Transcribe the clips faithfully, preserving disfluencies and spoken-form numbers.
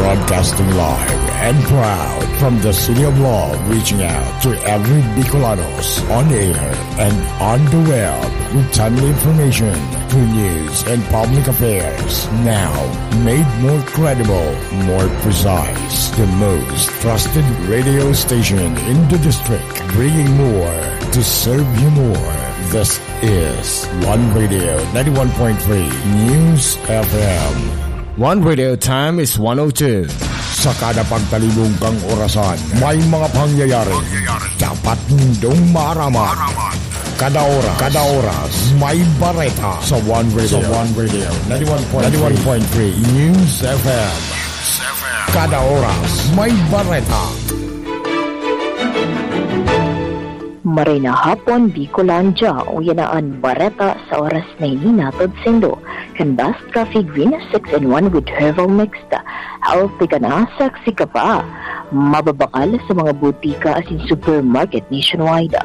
Broadcasting live and proud from the City of Love, reaching out to every Bicolanos on air and on the web with timely information, true news, and public affairs. Now, made more credible, more precise. The most trusted radio station in the district, bringing more to serve you more. This is One Radio ninety-one point three News F M. One Radio time is one oh two. Sa kada pagtalibong kang orasan, may mga pangyayari dapat nindong maaraman. Kada oras, kada oras, may bareta sa One Radio. Sa One Radio, ninety-one point three News F M. Kada oras, may bareta. Maray na hapon, Bicolandia. Uya na an bareta sa oras na ini, hatod saindo kan Best Coffee Green six in one with Herbal Mixed. Healthy ka na, sexy ka pa. Mababakal sa mga butika asin supermarket nationwide.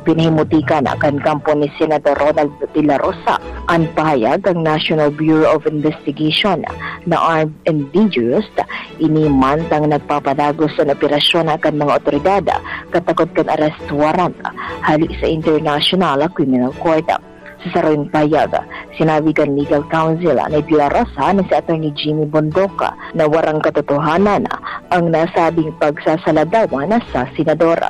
Pinahimuti ka na kan kampo ni Senador Ronald De La Rosa an pahayag kan National Bureau of Investigation na armed and dangerous. Ini mantang nagpapadagos an operasyon kan mga otoridad katakot kan arrest warrant hali sa International Criminal Court. Sa sarong pahayag, sinabi kan legal counsel ni De La Rosa na si Attorney Jimmy Bondoc na warang katotohanan ang nasabing pagsasaladawan sa senador.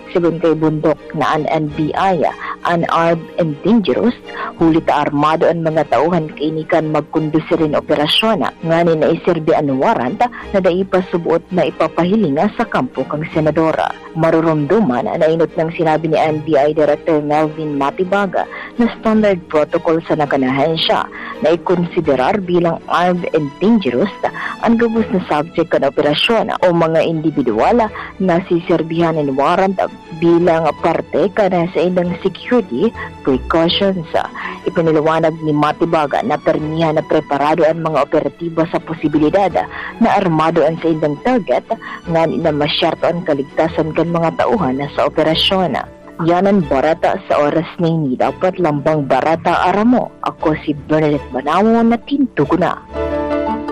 Sigon kay Bondoc na an N B I an armed and dangerous, huli ta armado an mga tauhan kaini kan magkondusir nin operasyon, nganing naiserbi an warrant na dai pa suboot na ipapahiling sa kampo kan senador. Marurumduman na inot nang sinabi ni N B I Director Melvin Matibag na standard protocol sa nakanahensya na ikonsiderar bilang armed and dangerous an gabos na subject kan operasyon o mga individual na siserbihan nin warrant bilang parte kan saindang security precautions. Ipinaliwanag ni Matibag na permihan na preparado an mga operatiba sa posibilidad na armado an saindang target, ngani na masyerto an kaligtasan kan mga tauhan sa operasyon. Yan an bareta sa oras na ini. Dapat lambang bareta aram mo. Ako si Bernadette Manawo na tintugo na.